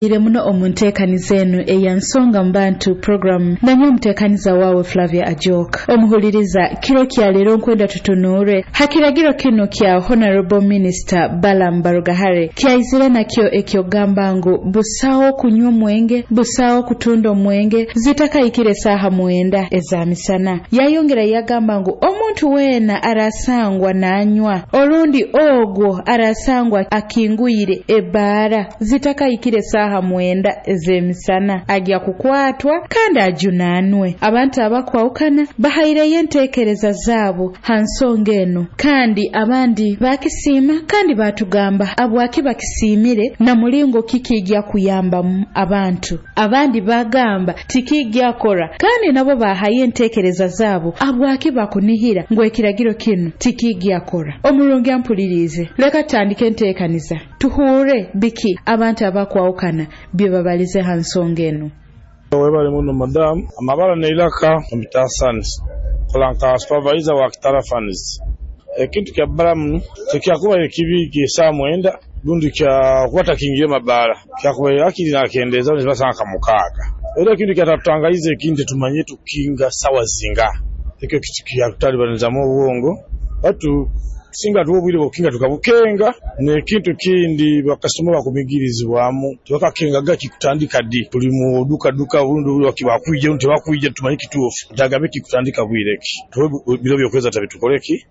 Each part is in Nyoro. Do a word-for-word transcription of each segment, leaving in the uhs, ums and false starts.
Ire muno omu nteekaniza enu eya Nsonga mu Bantu program, nanye omuteekaniza waawe Flavia Ajok. Omuhuliriza, kiro kya leero nkwenda tutunuure ha kiragiro kinu kya Honorable Minister Balaam Barugahare kyaizire nakyo ekyokugamba ngu busaho kunywa omwenge, busaho kutunda omwenge zitakahikire saaha mwenda eza misana. Yayongera yagamba ngu omuntu weena arasangwa nanywa orundi ogwo arasangwa akingwire ebaara zitakahikire saaha mwenda ez'emisana ajya kukwatwa kandi ajunanwe. Abantu abakwawukana bahaireyo enteekereza zaabo ha nsonga enu, kandi abandi bakisiima kandi batugamba abwaki bakisiimire na mulingo kikijja kuyambamu abantu. Abandi bagamba tikijja kora, kandi nabo bahayo enteekereza zaabo abwaki bakunihira ngu ekiragiro kinu tikijja kora. Omurungi ampuliriize, leka tutandike enteekaniza tuhure biki abantu abakwawukana bye babalize ha nsonga enu. Webale muno, madamu. Amabara neiraka Mutasanis, kola nka supervisor wa Kitara Funds. Ekintu kya Balamu tekyakubaire kibi kyesaa mwenda, rundi kyakuba takingire mabara, kyakubaire akiri nakendeza nibasanga nka mukaaga. Era ekintu kyatatutangaize, ekindi tumanye tukinga sawa zinga, ekyo kyatutalibanizamu obwongo. Batu singa tuwa obwire bwokukinga tukabukenga. N'ekintu kindi, bakasitoma bakumigirizibwamu, tebakakengaga kikutandika ddi. Tuli mu duka duka, obundi bakwija, obundi tebakwija. Tumanye kituufu ntagambe kikutandika bwire ki, tuwe biro byokweza tabitukoleki,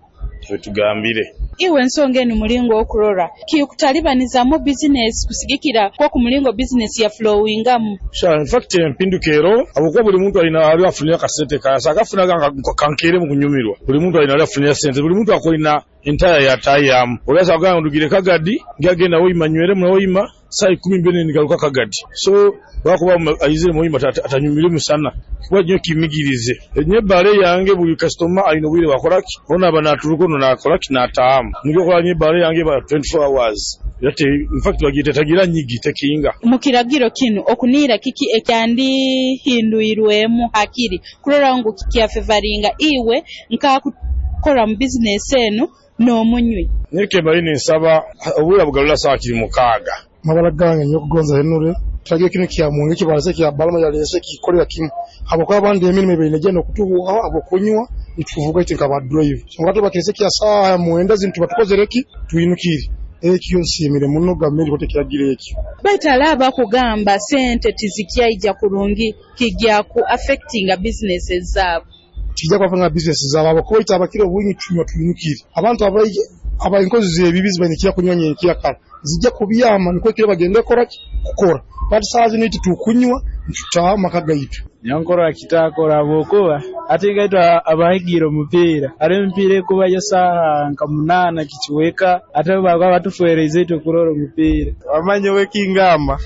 tabitugambire. Iwe ensonga enu mulingo okurora kikutalibanizamu bizinesi kusigikira kwa ku mulingo bizinesi ya flowingamu? Sha, in fact empinduka ero, habwokuba buli muntu alina ali afunira akasente kasa akafunaga kankeere mu kunyumirwa. Buli muntu alina ali afunira sente, buli muntu akolina entaya yatayamu. Olasa kugamba ndugire Kagadi, ngagenda Hoima, nywere mu Hoima saa ikumi mbiri nigaruka Kagadi. So bakuba aizire mu Hoima atanyumire musana kuba nyo kimigirize nye bare yange. Buli customer alina obwire bakolaki, ona aba naturuko no nakolaki nataamu nibyo kola. Nye bare yange ba twenty-four hours yate, in fact bagite tagira nyigi tekinga. Mu kiragiro kinu okuniira kiki ekyandihindwirwemu hakiri kurora ngu kikyafevaringa iwe nkakukora mu bizinesi enu n'omunywi? Nike bali ninsaba obwire bugalula saa kiri mukaaga. Mabara gange nyokugonza Henure, kiragiro kino kya mwenge kibalese kya Balama yalese kikolera kimu, habwokuba abandi emirimu ebaine genda okutuhuhaho habwokunywa nituvuga ite nka ba driver. So ngato bakirese kya saaha mwenda zintu batukozere ki twinukire. Ekyo nsiimire muno gavumenti kote kiragiro ekyo. Baitu alaba kugamba sente tizikyaija kurungi, kijja ku affectinga businesses zaabo. Kijja kwafanga business zaabo, habwokuba ite abakire obwingi tunywa twinukire. Abantu abaije aba enkozi z'ebibi zibaine kunywa nyenkya kara zijja kubyama nikwo ekiro bagende kukora ki kukora, bati saa zino iti tukunywa ntutaaha maka gaitu. Nyankoro akitakora, habwokuba ate ngaitwe abahigiire omupiira, hariho emipiira ekubayo saaha nka munaana kikiweka, ate baba batufereize itwe kurora omupiira. Wamanye wekingamba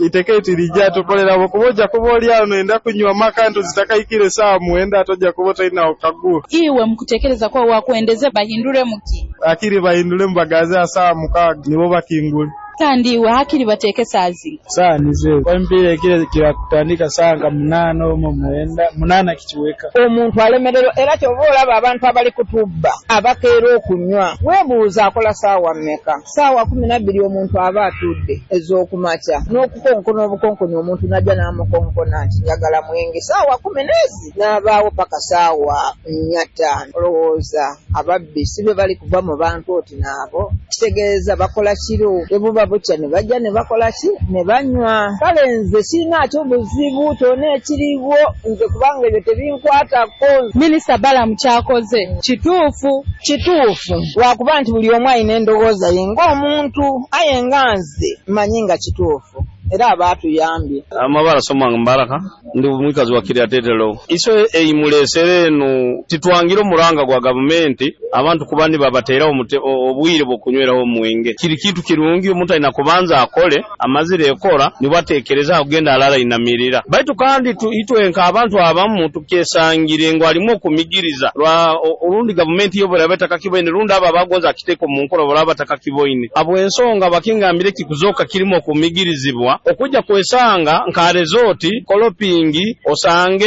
iteka etirijja tukolera, habwokuba ojja kuba oli awo noyenda kunywa maka nto zitakahikire saaha mwenda, ate ojja kuba otalinawo kaguru. Iwe mukutekereza kwa wakwendeze bahindure muki? Akiri bahindure mubagaze aha saaha mukaaga nibo bakingule. Kandi iwe hakiri bateeke saazi? Saa nizo emipiira ekire kirakutandika saa nka munaana omwo mwenda munaana kikiweka. Omuntu alemererwa, era kyova olaba abantu abali kutubba abakeera okunywa, weebuuza akola saawa mmeka? Saawa kumi nabbiri omuntu aba atudde ez'okumakya n'okukonkona obukonkoni, omuntu najja n'amukonkona nti njagala mwenge saawa kumi n'ezi, n'abaawo paka saawa nnya ttaano. Olowooza ababbi si be bali kuva mu bantu oti naabo? Kitegeeza bakola kiro, bwe buba bukya ne bajja ne bakola ki ne banywa. Kale nze sirinaakyo buzibu kyonna ekiriwo nze, kubanga ebyo tebinkwatako. Minisita Balamu kyakoze kituufu? Kituufu, lwakuba nti buli omu alina endowooza ye ng'omuntu, aye nga nze mmanyi nga kituufu era aba atuyambye. Amabara Somanga Mbaraka, ndi mwikazi wa Kiryatetero. Iso eyimulesere enu titwangira omuranga gwa gavumenti abantu kuba nibabateraho obwire bw'okunyweraho omwenge. Kiri kitu kirungi, omuntu alina kubanza akole, amazire ekora nibwo atekereza kugenda alala inamirira. Baitu kandi itwe nka abantu abamu tukesangire ngu alimu okumigiriza lwa orundi gavumenti yo buraba etakakiboine, rundi abo abagonza akiteeka omu nkora buraba batakakiboine. Habw'ensonga bakingambire kikuzoka kirimu okumigirizibwa. Okuba okujja kwesanga nka resort Kolopingi, osange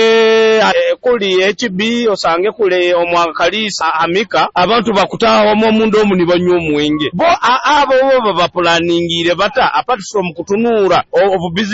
eh, kuli H B, osange kuli omwakalisa Amika, abantu bakutaaha omwo omunda omu nibanywa omwenge. Bo abo bo babapulaningire bata, apart from kutunuura obu business?